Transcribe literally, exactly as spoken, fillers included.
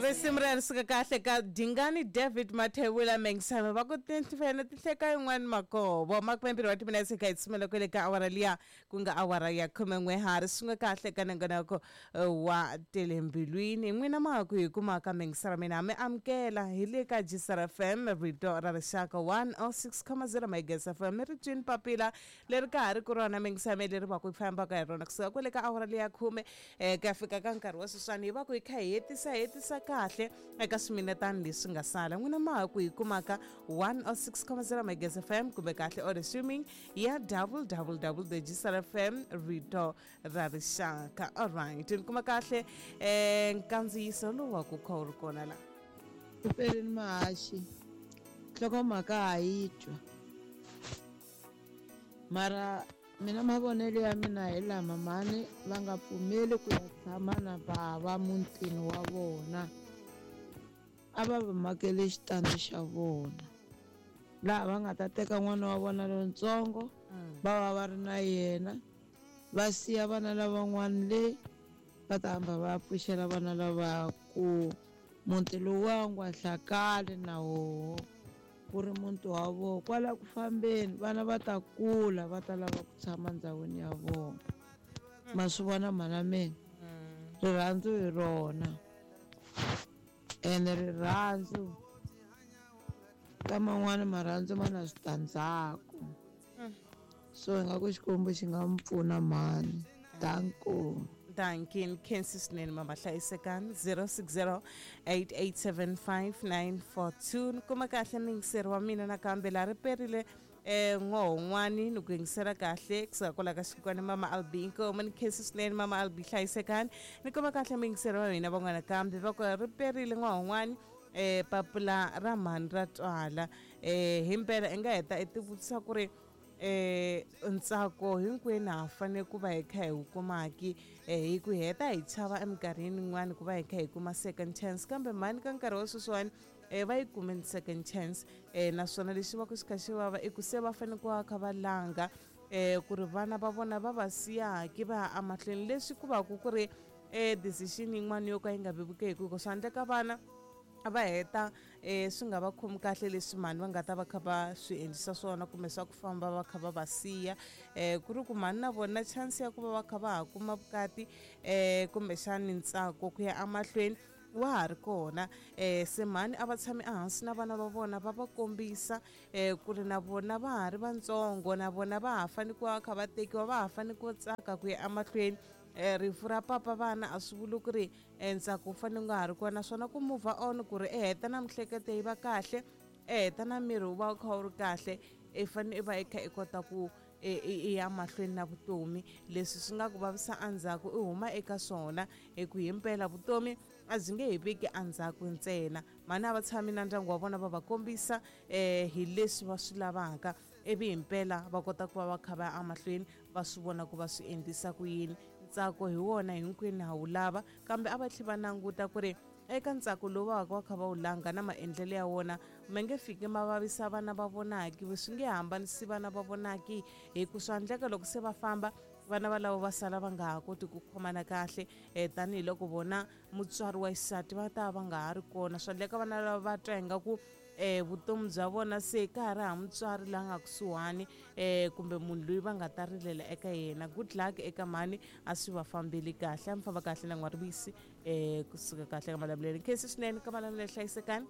Risimu ri suka kahle ka Dingani David Mathebula Mengisame va ku tinfene tihleka yin'wana makovo makumembirhi wa timinetse ka hi tsumela kwele ka awara liya ku nga awara ya khumen'we ha ri swin'we kahle ka nongonoko wa Telembilwini. N'wina ma ha ku hi kumaka Mengisara mina mi amukela hi le ka G S R F M, rito ra rixaka, one oh six point zero Megas F M. Mi ri twini papila leri ka ha ri ku rona Mengisame leri va ku fambaka hi rona kusuka kwele ka awara liya khume um ku ya fika ka nkarhi wa sweswiwani, hi va ku hi kha hi hetisa hetisa kahle eka swiminetani leswi nga sala. N'wina ma ha ku hi kumaka one oh six point zero Megas F M kumbe kahle or streaming ya W W W G S R F M, rito ra rixaka. Alright, ni kuma kahle um nkandziyiso lowu wa ku kha wu ri kona la. Peleni mahaxi, nhlokomhaka ha yi twa, mara mina mavonelo ya mina hi lama: mhani va nga pfumeli ku ya tshama na bava mutini wa vona, a va va makele xitandi xa vona laha va nga ta teka n'wana wa vona lontsongo, va va va ri na yena, va siya vana lavan'wana le va ta hamba va pfuxela vana lava ku muti lowuwa wu nga hlakali na woho ku ri muti wa vona. Kwala ku fambeni vana va ta kula, va ta lava ku tshama ndhawini ya vona. Ma swi vona, mhana mina, rirhandzu hi rona ene rirhandzu ka man'wani marhandzu ma na switandzhaku, so hi nga ku Xikwembu xi nga mi pfuna mhani. Danko. Dankin khensi swinene mama, hlayisekani. zero six zero eight eight seven five nine four two. Ni kuma kahle muyingiseri wa mina nakambe laha ri perile um n'wohon'wani, ni ku yingisela kahle kusuka kwala ka xikwani mama Albi. Inkomu, ni khensi swinene mama Albi, hlayisekani. Ni kuma kahle muyingiseri wa hina van'wana kambe va ku ri perile n'wohon'wani, um papila ra mhani ra twala. um himpela i nga heta i tivutisa ku ri eh ntsako hinkwenu ha fanele ku va hi kha hi wu kumaki, eh hi ku heta hi chava eminkarhini yin'wani ku va hi kha hi kuma second chance, kambe mhani ka nkarhi wa sweswiwani eh va yi kumeni second chance. eh naswona lexi va ku xi kha xi vava i ku se va fanele ku va kha va langa eh ku ri vana va vona va va siyaki va ya emahlweni, leswi ku va ku ku ri eh decision yin'wana yo ka yi nga vevukeki, ku swa endleka vana va heta um swi nga va khomi kahle leswi mhani va nga ta va kha va swi endlisa swona kumbe swa ku famba va kha va va siya, um ku ri ku mhani na vona chance ya ku va va kha va ha kuma vukati um kumbexani ntsako ku ya emahlweni wa ha ri kona. um se mhani a va tshami ehansi na vana va vona, va va kombisa um ku ri na vona va ha ri vatsongo, na vona va ha fanele ku va kha va tekiwa, va ha fanele ku tsaka ku ya emahlweni. um rifu ra papa vana a swi vuli ku ri ntsako wu fanele wu nga ha ri kona, naswona ku move on ku ri i heta na mihleketo yi va kahle, i heta na miri wu va wu kha wu ri kahle, i fanele i va i kha i kota ku i ya mahlweni na vutomi. Leswi swi nga ku vavisa endzhaku i huma eka swona, hi ku himpela vutomi a byi nge hi veki endzhaku ntsena. Mhani a va tshami na ndyangu wa vona, va va kombisa um hi leswi va swi lavaka, ivi himpela va kota ku va va kha va ya emahlweni, va swi vona ku va swi endlisa ku yini. Ntsako hi wona hinkwenu ha wu lava, kambe a va tlhela va languta ku ri eka ntsako lowu va va va kha va wu langa na maendlelo ya wona ma nge fiki ma vavisa vana va vonaki, swi nge hambanisi vana va vonaki, hi ku swa endleka loko se va famba vana valavo va sala va nga ha koti ku khomana kahle, um tanihiloko vona mutswari wa xisati va ta va nga ha ri kona. Swa endleka vana lava va twa ingaku um vutomi bya vona se ka ha ri ha mutswari la nga kusuhani, um kumbe munhu loyi va nga ta rilela eka yena. Good luck eka mhani, a swi va fambeli kahle, a mi famba kahle na n'warivisi um kusuka kahle ka Malamulele. Khensi swinene ka Malamulele, hlayisekani.